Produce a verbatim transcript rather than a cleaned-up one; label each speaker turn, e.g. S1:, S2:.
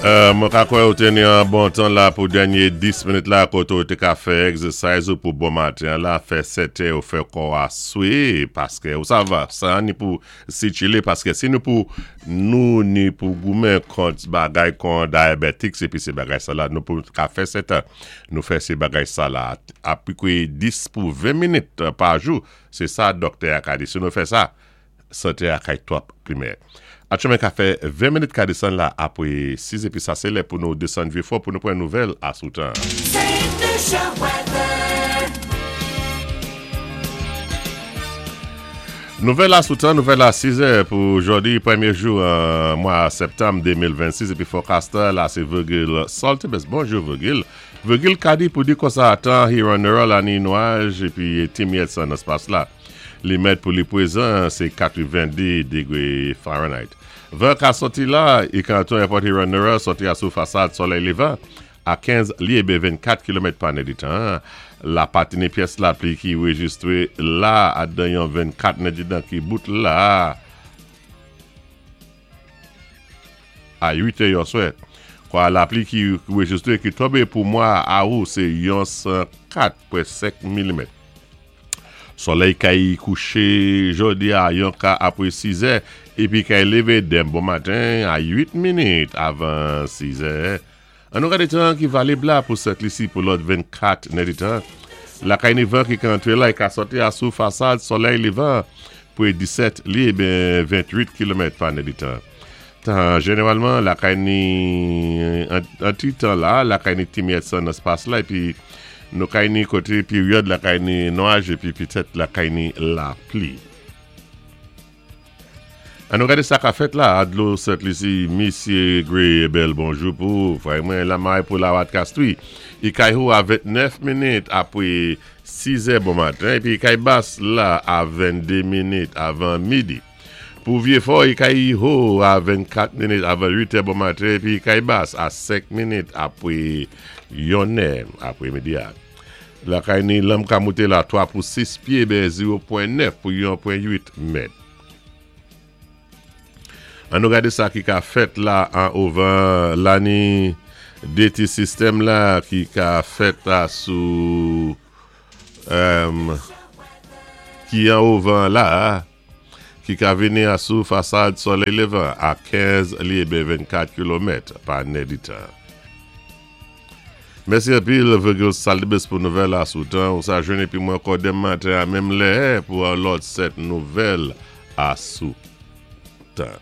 S1: Euh, mwen ka kwè ou té ni an bon tan la pou dènyé dis minit la koté ou té ka fè egzèsais ou pou bon maten la, fè sèt è ou fè kò a swé, paské ou sa va, sa ni pou sikilé, paské si nou pou nou ni pou goumen kont bagay kon diabetic, épi sé bagay sa la, nou pou ka fè sèt è, nou fè sé bagay sa la, apikwe dis pou ven minit pa jou, sé sa doktè a ka di, si nou fè sa, santé a kay twòp pli meyè. Atchoumen ka fè ven minit ka désann la apwé sis épi sa sé lè pou nou désann Vieux-Fort pou nou pran nouvèl asou tan.
S2: Saint Lucia weather.
S1: Nouvèl asou tan, nouvèl a sis è pou jòdi, pwémyé jou an mwa septanm de mil vennsis épi forecaster la sé Virgil Saltibus. Bonjou, Virgil. Virgil ka di pou di konsa tan Huron-Norah la ni nwaj épi ti myèt san nan éspas la. Li mèt pou li pwézan sé katwenn-dé dégwé Fahrenheit. Van ka sòti la, i ka antoun Airport Huron-Norah, sòti asou fasad solèy lévan a kenz lyé ben vennkat kilomèt pa nèditan. La patini pyès lapli ki rejistwé la adan yon vennkat nèditan ki bout la a uit è yon swè. Kwa lapli ki rejistwé ki tonbé pou mwa awou sé yon san kat pwen senk milimèt. Solèy kay kouché jòdi a yon ka apwé sis è épi kay lévé denmen bon maten a uit minit avan sis è. An nou gadé tan ki valib la pou Sent Lisi pou lòt vennkat nèditan. La kay ni van ki ka antré la, i ka sòti asou fasad solèy lévan pou disèt lyé ben venntwit kilomèt pa nèditan. Tan jénéwalman la kay ni an, an ti tan la, la kay ni ti myèt san nan éspas la épi nou kay ni koté péryòd la kay ni nwaj épi pitèt la kay ni lapli. An nou gadé sa ka fèt la, a dlo Sent Lisi, Misyé Gray, bèl bonjou pou, frè mwen la may pou la wat kastwi. I kay ho a ventnèf minit apwé sis è bon maten, épi kay bas la a venndé minit avan midi. Pou Vieux-Fort, i kay ho a vennkat minit avan uit è bon maten, épi kay bas a senk minit apwé yon è apwé midi a. La kay ni lanm ka mouté la twa pou sis pyé ben zewo pwen nèf pou yon pwen uit mèt. An nou gadé sa ki ka fèt la an ovan la ni dé ti sistèm la ki ka fèt la sou euh, ki an ovan la ki ka vini asou fasad solèy lévan a kenz lyé ben vennkat kilomèt pa nèditan. Mèsi anpil, Virgil Salibus, pou nouvèl asou tan. Ou sa jwenn épi mwen ankò denmen maten a menm lè pou an lòt sèt nouvèl asou tan.